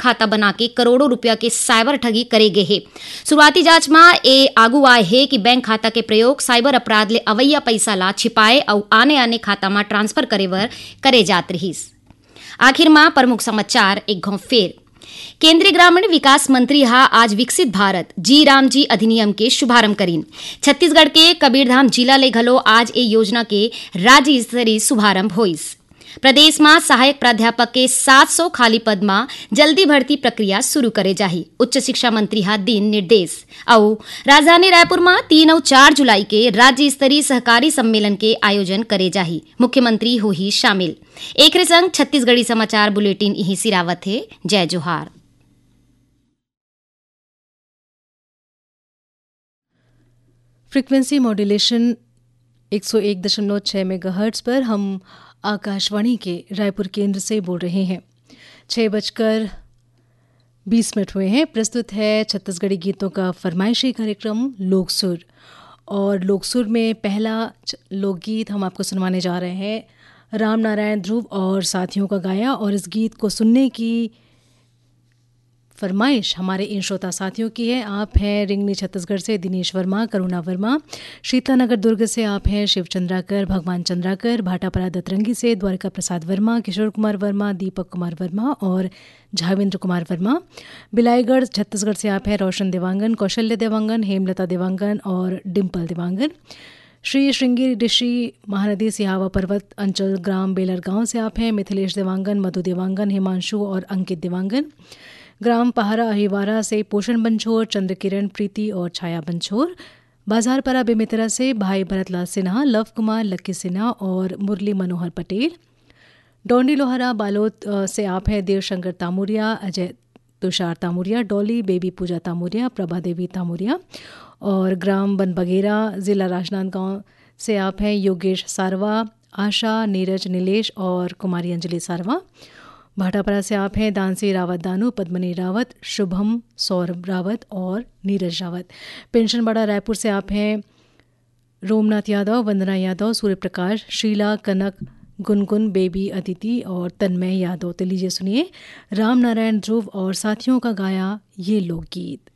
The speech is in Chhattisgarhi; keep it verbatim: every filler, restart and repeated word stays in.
खाता बना के करोड़ों रुपया के साइबर ठगी करे गे हे। शुरुआती जांच म ए आगू आए हे कि बैंक खाता के प्रयोग साइबर अपराध ले अवैया पइसा ला छिपाए अउ आने-आने खाता म ट्रांसफर करे बर करे जात रिहिस। आखिर म प्रमुख समाचार एक घौं फेर। केंद्रीय ग्रामीण विकास मंत्री ह आज विकसित भारत जी राम जी अधिनियम के शुभारंभ करिन। छत्तीसगढ़ के कबीरधाम जिला ले घलो आज ए योजना के राज्य स्तरीय शुभारंभ होइस। प्रदेश म सहायक प्राध्यापक के सात सौ खाली पद म जल्दी भर्ती प्रक्रिया शुरू करे जाही, उच्च शिक्षा मंत्री ह दीन निर्देश। अउ राजधानी रायपुर म तीन अउ चार जुलाई के राज्य स्तरीय सहकारी सम्मेलन के आयोजन करे जाही, मुख्यमंत्री होही शामिल। एकरे संग छत्तीसगढ़ी समाचार बुलेटिन इही सिरावत हे। जय जोहार। फ्रीक्वेंसी मॉड्यूलेशन एक सौ एक दशमलव छह मेगाहर्ट्ज पर हम आकाशवाणी के रायपुर केंद्र से बोल रहे हैं। छः बजकर बीस मिनट हुए हैं। प्रस्तुत है छत्तीसगढ़ी गीतों का फरमाइशी कार्यक्रम लोकसुर। और लोकसुर में पहला च-, लोकगीत हम आपको सुनवाने जा रहे हैं, राम नारायण ध्रुव और साथियों का गाया। और इस गीत को सुनने की फरमाइश हमारे इन श्रोता साथियों की है। आप हैं रिंगनी छत्तीसगढ़ से दिनेश वर्मा, करुणा वर्मा, शीतला नगर दुर्ग से आप हैं शिव चंद्राकर, भगवान चंद्राकर, भाटापारा दतरंगी से द्वारिका प्रसाद वर्मा, किशोर कुमार वर्मा, दीपक कुमार वर्मा और झावेंद्र कुमार वर्मा। बिलाईगढ़ छत्तीसगढ़ से आप हैं रोशन देवांगन, कौशल्य देवांगन, हेमलता देवांगन और डिम्पल देवांगन। श्री श्रृंगी ऋषि महानदी सिहावा पर्वत अंचल ग्राम बेलर गांव से आप हैं मिथिलेश देवांगन, मधु देवांगन, हिमांशु और अंकित देवांगन। ग्राम पहारा अहिवारा से पोषण बंछोर, चंद्रकिरण, प्रीति और छाया बंछोर। बाजारपारा बेमेतरा से भाई भरतलाल सिन्हा, लव कुमार, लक्की सिन्हा और मुरली मनोहर पटेल। डोंडी लोहारा बालोद, अ, से आप हैं देवशंकर तामुरिया, अजय तुषार तामुरिया, डॉली, बेबी पूजा तामुरिया, प्रभा देवी तामुरिया। और ग्राम बनबगेरा, जिला राजनांदगांव से आप हैं योगेश सारवा, आशा, नीरज, नीलेश और कुमारी अंजलि सारवा। भाटापारा से आप हैं दानसी रावत दानू, पद्मनी रावत, शुभम, सौरभ रावत और नीरज रावत। पेंशनबाड़ा रायपुर से आप हैं रोमनाथ यादव, वंदना यादव, सूर्य प्रकाश, शीला, कनक, गुनगुन, बेबी, अदिति और तन्मय यादव। तो लीजिए सुनिए राम नारायण ध्रुव और साथियों का गाया ये लोकगीत।